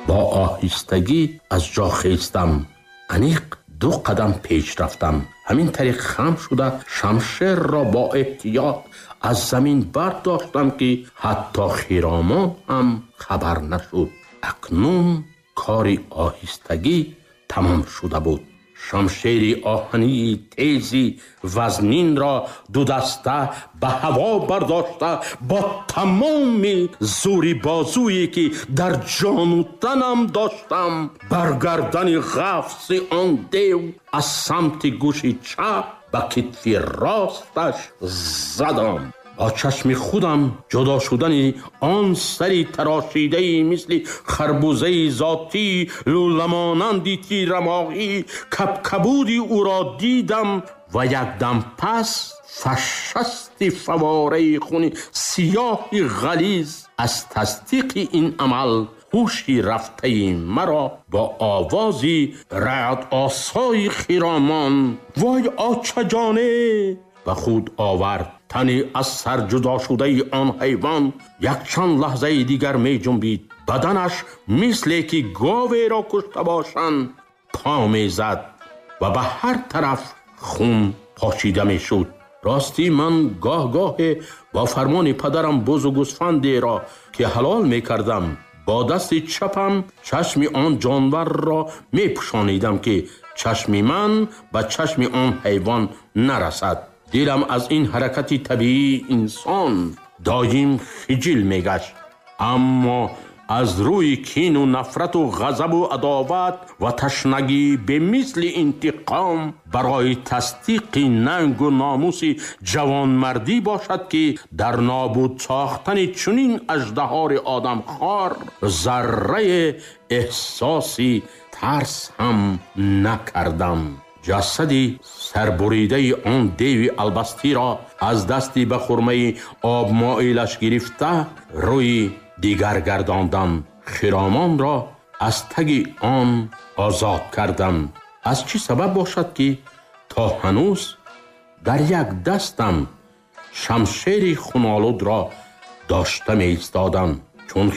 Бо оҳистагӣ аз ҷо хестам. Аниқ 2 қадам пеш рафтам. Ҳамин тариқ хам шуда шамшерро бо эҳтиёт аз замин бардоштам, ки ҳатто Хиромон ҳам хабар нашуд. Акнун кори оҳистагӣ тамом шуда буд. Шамшери оҳании тези вазнинро дудаста ба ҳаво бардошта бо тамоми зӯри бозуе, ки дар ҷону танам доштам, бар гардани ғафси он дев аз самти гӯши чап ба китфи росташ задам. Бо чашми худам ҷудо шудани он сари тарошидаи мисли харбузаи зотӣ, лӯламонанди тирамоҳӣ, кабкабуди ӯро дидам ва якдам пас фашасти фавораи хуни сиёҳи ғализ аз тасдиқи ин амал ҳуши рафтаи маро бо овози раъдосои Хиромон «Вой, очаҷоне!» ба худ овард. Тани аз сар ҷудо шудаи он ҳайвон якчанд лаҳзаи дигар меҷунбид. Баданаш мисле ки говеро кушта бошанд по мезад ва ба ҳар тараф хун пошида мешуд. Ростӣ ман гоҳ-гоҳе бо фармони падарам бузу гӯсфандеро, ки ҳалол мекардам, бо дасти чапам чашми он ҷонварро мепӯшонидам, ки чашми ман ба чашми он ҳайвон нарасад. Дилам аз ин ҳаракати табиии инсон доим хиҷил мегашт. Аммо аз рӯи кину нафрату ғазабу адоват ва ташнагӣ бемисли интиқом барои тасдиқи нангу номуси ҷавонмардӣ бошад, ки дар нобуд сохтани чунин аждаҳори одамхор зарраи эҳсоси тарс ҳам накардам. Ҷасади сарбуридаи он деви албастиро аз дасти ба хурмаи обмоилаш гирифта рӯи дигар гардондам. Хиромонро аз таги он озод кардам. Аз чӣ сабаб бошад, ки то ҳанӯз дар як дастам шамшери хунолудро дошта меистодам, чун